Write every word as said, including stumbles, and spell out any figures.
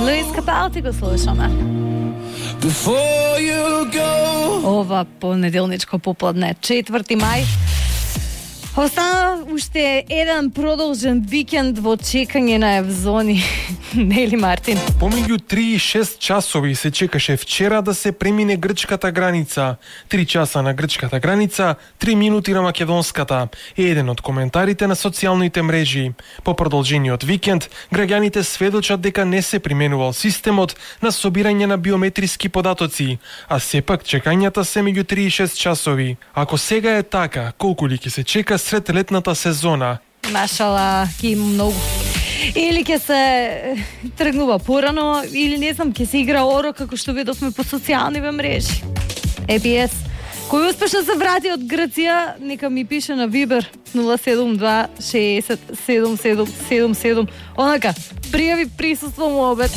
Луис Капалди го слушаме. Ова понеделничко попладне, четврти мај. Остана уште еден продолжен викенд во чекање на Евзони. Нели, Мартин? Помеѓу три и шест часови се чекаше вчера да се премине грчката граница. Три часа на грчката граница, три минути на македонската. Е еден од коментарите на социјалните мрежи. По продолжениот викенд, граѓаните сведочат дека не се применувал системот на собирање на биометриски податоци, а сепак чекањата се меѓу три и шест часови. Ако сега е така, колку ли ќе се чека сред летната сезона? Машала, ќе има многу. Или ќе се тргнува порано, или не знам, ќе се игра оро, како што видовме по социјалните мрежи. Е би ес. Кој успешно се врати од Грција, нека ми пише на Вибер нула седум два шеесет седум седум седум седум. Онака, пријави присуство му обед.